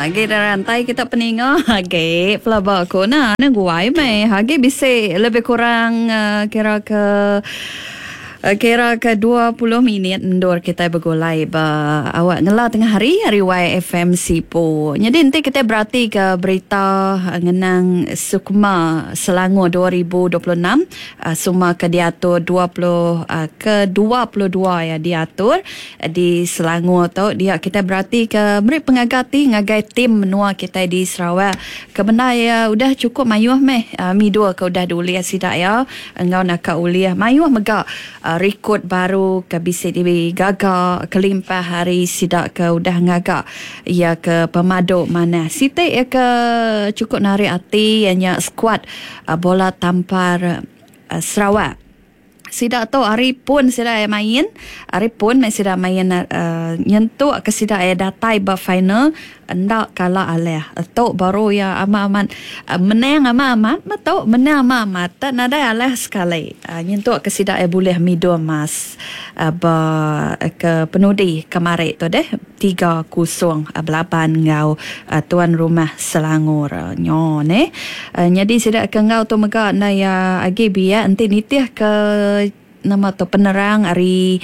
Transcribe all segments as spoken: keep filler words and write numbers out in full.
Agi rantai kita peninga agi pelaba aku nah nang guai meh agi bisi lebih kurang uh, kira ke kira ke dua puluh minit endur kita bergulai ba awak ngela tengah hari hari Y F M Sibu. Jadi nanti kita berarti ke berita ngenang Sukma Selangor dua ribu dua puluh enam Sukma ke diatur dua puluh ke dua puluh dua ya diatur di Selangor tu dia kita berarti ke beri pengagati ngagai tim menua kita di Sarawak. Kebenar ya udah cukup mayuh meh mi dua ke udah diuliah sidak ya engau nak uliah mayuh mega rekod baru ke bisi digaga kelimpah hari sidak ke udah ngaga ia ke pemadu mana sitik ia ke cukup narik hati ianya skuad bola tampar Sarawak. Sidak tu hari pun sidak main, hari pun sidak main uh, nyentuk ke sidak datai ba final ndak kalah aleh. Tok baru ya amat-amat uh, menang amat-amat betul menang amat-amat tak nadai aleh sekali. Uh, nyentuk ke sidak boleh mido emas uh, ba ke penudi kemarin tu deh tiga kosong uh, belaban ngau uh, tuan rumah Selangor uh, nyo ne. Uh, jadi sidak ke ngau tu mega na ya agi biak enti nitih ke nama tu penerang hari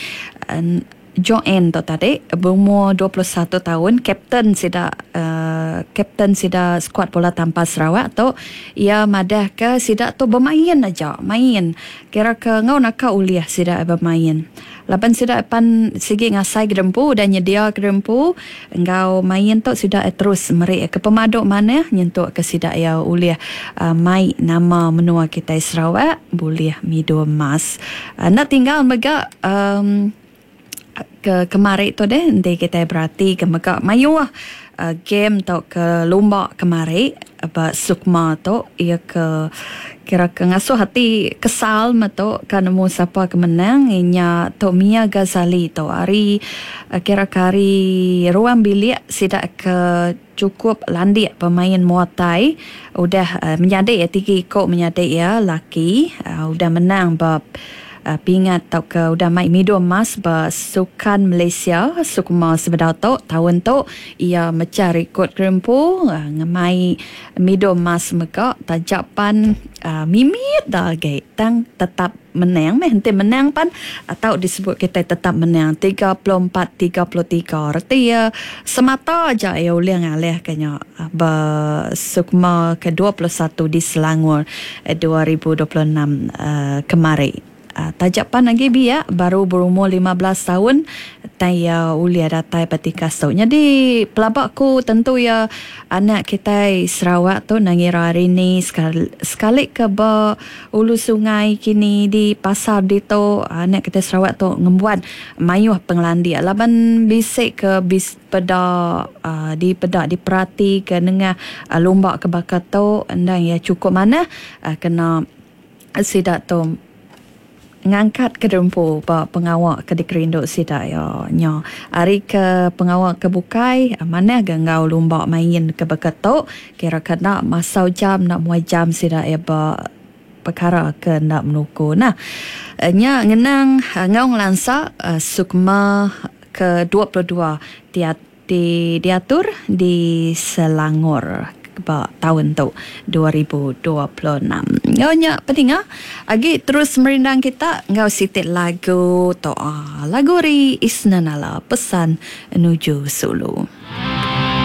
uh, Joanne tu tadi berumur dua puluh satu tahun, kapten sida uh, kapten sida skuad bola tampar Sarawak tu ia madah ke sida tu bermain aja, main. Kira ke ngau nak uliah sida bermain. Laban sida pan sigi ngasai gedempu dan nyedia gedempu engau main tu sida terus merik ke pemaduk mana nyentuk ke sida ia uliah uh, mai nama menua kita Sarawak boleh mido emas. Uh, nak tinggal mega um, ke kemari tu deh nanti kita berarti ke mega mayuh uh, game atau ke lumba kemari ba Sukma tu ia ke kira ke ngasuh hati kesal metu kan nemu siapa ke menang inya tu Mia Ghazali tu hari uh, kira ke hari ruang bilik sidak ke cukup landik pemain Muay Thai udah uh, menyadik ya tiga ikut menyadik ya laki uh, udah menang bab Uh, pingat atau ke udah mai mido emas ba Sukan Malaysia Sukma sebedau tu tahun tu ia mecah rekod kerempu uh, ngemai mido emas mega tajapan uh, mimit dah ge tang tetap menang meh enti menang pan atau disebut kita tetap menang tiga puluh empat tiga puluh tiga reti ya semata aja ya ulih ngalih kenya ba Sukma ke dua puluh satu di Selangor dua ribu dua puluh enam uh, kemari. Uh, tajapan lagi biak baru berumur lima belas tahun tai ya ulia datai petikas tu. Jadi pelabakku tentu ya anak kita Sarawak tu nangira hari ni sekali, sekali ke ba ulu sungai kini di pasar dito anak kita Sarawak tu ngembuan mayuh pengelandia laban bisik ke bis peda uh, di peda diperhati ke nengah uh, lumba ke bakat tu endang ya cukup mana uh, kena sidak tu ngangkat ke dempu ba pengawak ke dikerinduk sida ya nya hari ke pengawak ke bukai mana ge ngau lumba main ke beketok kira kena masau jam nak muai jam sida ya ba perkara ke nak menuku nah nya ngenang ngau ngelansa Sukma ke dua puluh dua tiat di diatur di Selangor ba tahun tu dua ribu dua puluh enam. Ngau nya peninga agi terus merindang kita ngau sitik lagu to ah, lagu ri Isnanala pesan nuju Sulu.